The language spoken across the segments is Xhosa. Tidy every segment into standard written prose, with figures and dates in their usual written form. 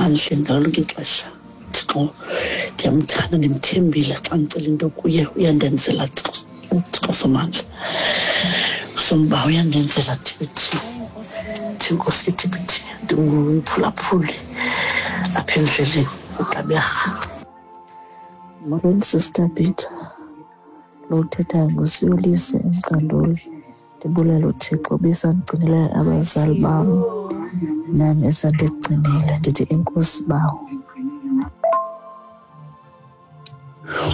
emandleni ngalo lonke ixesha. Thixo ndiyamthanda ndimthembile xa ndicela into kuye uyandenzela Thixo uThixo somandla. Somba uyandenzela TBT. Thinkosi ke TBT ndingumphulaphuli apha endleleni uGqeberha. Molweni Sister Peter, lo uthethayo nguSiyolise eMqanduli. Ndibulela uThixo obesandigcinele abazali bam nam esandigcinile. Ndithi enkosi Bawo.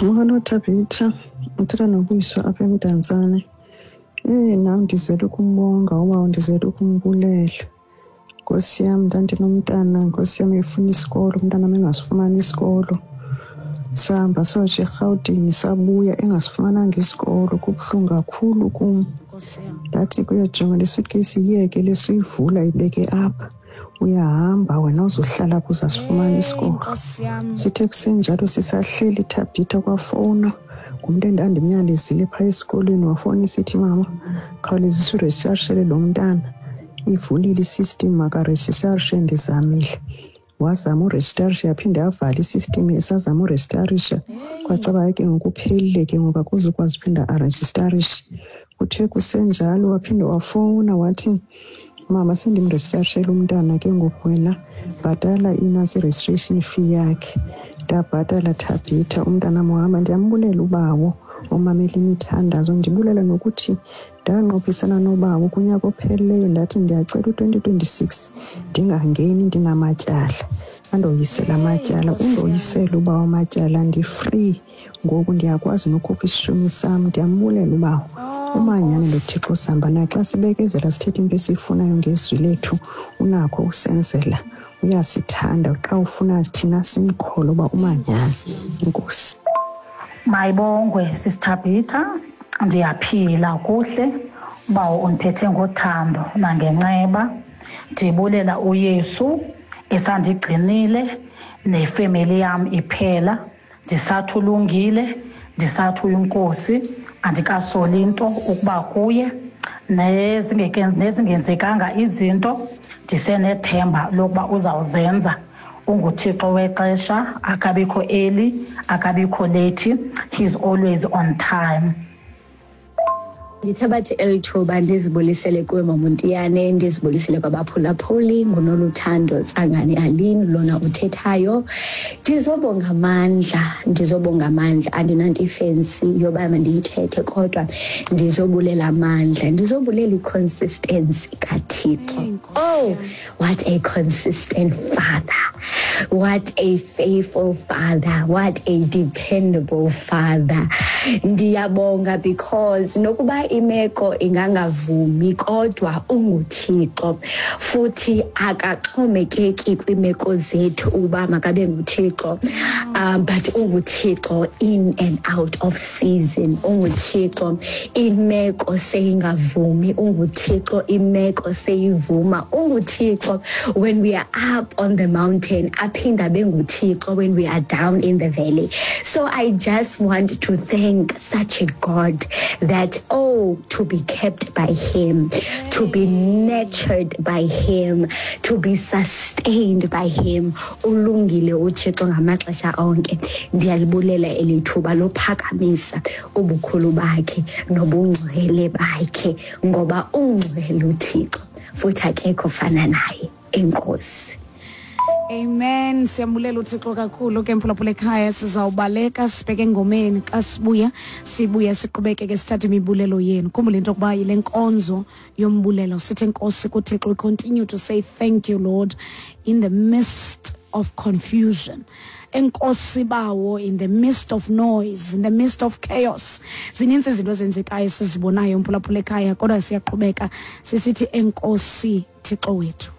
Molo Thabitha, uthetha noBuyiswa apha eMdantsane. Eyi nam ndizele ukumbonga ubawo, ndizele ukumbulela. Nkosi yam, ndandinomntana, nkosi yam, efuna isikolo, umntana am engasifumani isikolo. Sahamba sayotsho eRhawutini sabuya engasifumananga isikolo, kubuhlungu kakhulu kum. Ndathi kuyojonga le suitcase iyeke le suyivula ibeke apha, uyahamba wena uzohlala apho uzasifumana isikolo. Sithe kusenjalo sisahleli Thabitha kwafowunwa ngumntu endandimyalezile phaa esikolweni, wafowuna isithi, mama khawulezisa urejistashele lo mntana, ivulile isystem makarejistarishe, ndizamile. Wazama urejistarisha yaphinde yavala isystem, esazama urejistarisha kwacaba ke ngoku uphelile ke ngoku akuzukwazi uphinda arejistarishe. Kuthe kusenjalo waphinde wafowuna wathi, mama sendimrejistarishele umntana ke ngoku, wena bhatala inantsi i-registration fee yakhe. Ndabhatala Thabitha, umntana wahamba. Ndiyambulela ubawo omamela imithandazo, ndibulela nokuthi ndanqophisana nobawo kunyaka ophelileyo, ndathi ndiyacela u-2026 ndingangeni ndinamatyala, andoyisela amatyala. Undoyisele ubawo amatyala, ndi-free ngoku, ndiyakwazi nokhupha isishumi sam. Ndiyambulela ubawo umanyane noThixo sihamba naye. Xa sibekezela sithethe into esiyifunayo ngezwi lethu, unakho usenzela, uyasithanda xa ufuna thina simkholo uba umanyane. Inkosi. Mayibongwe Sisithabhitha, ndiyaphila kuhle, ubawo undiphethe ngothando nangenceba. Ndibulela uYesu esandigcinile nefemeli yam iphela. Ndisathi ulungile, ndisathi uyinkosi, andikasoli nto ukuba kuye. Nezingenzekanga izinto ndisenethemba lokuba uzawuzenza. UnguThixo wexesha, akabikho early, akabikho late, he's always on time. Ndithabathe eli thuba ndizibulisele kuwe Mamontiyane, ndizibulisele kwabaphulaphuli. Ngunoluthando Tsangane Aline lona uthethayo. Ndizobonga amandla, ndizobonga amandla, andinanto ifensi yoba mandiyithethe, kodwa ndizobulela amandla, ndizobulela i-consistency kaThixo. Oh, what a consistent father, what a faithful father, what a dependable father. Ndiyabonga because nokuba imeko ingangavumi, kodwa unguThixo futhi akaxhomekeki kwimeko zethu uba makabe nguThixo, but unguThixo in and out of season, unguThixo imeko seyingavumi, unguThixo imeko seyivuma, unguThixo when we are up on the mountain, aphinda benguThixo when we are down in the valley. So I just want to thank such a God that, oh, to be kept by him, to be nurtured by him, to be sustained by him. Ulungile uThixo ngamaxesha onke. Ndiyalibulela eli thuba lophakamisa ubukhulu bakhe nobungcwele bakhe, ngoba ungcwele uThixo futhi akekho fana naye. Enkosi. Amen. Siyambulela uThixo kakhulu ke mphulaphula ekhaya. Sizawubaleka sibheke engomeni, xa sibuya sibuya siqhubekeke sithathe imibulelo yenu. Khumbula into yokuba yile nkonzo yombulelo, sithe enkosi kuThixo. We continue to say thank you Lord in the midst of confusion. Enkosi bawo in the midst of noise, in the midst of chaos. Zininzi izinto ezenzekayo esizibonayo mphulaphula ekhaya, kodwa siyaqhubeka sisithi enkosi Thixo wethu.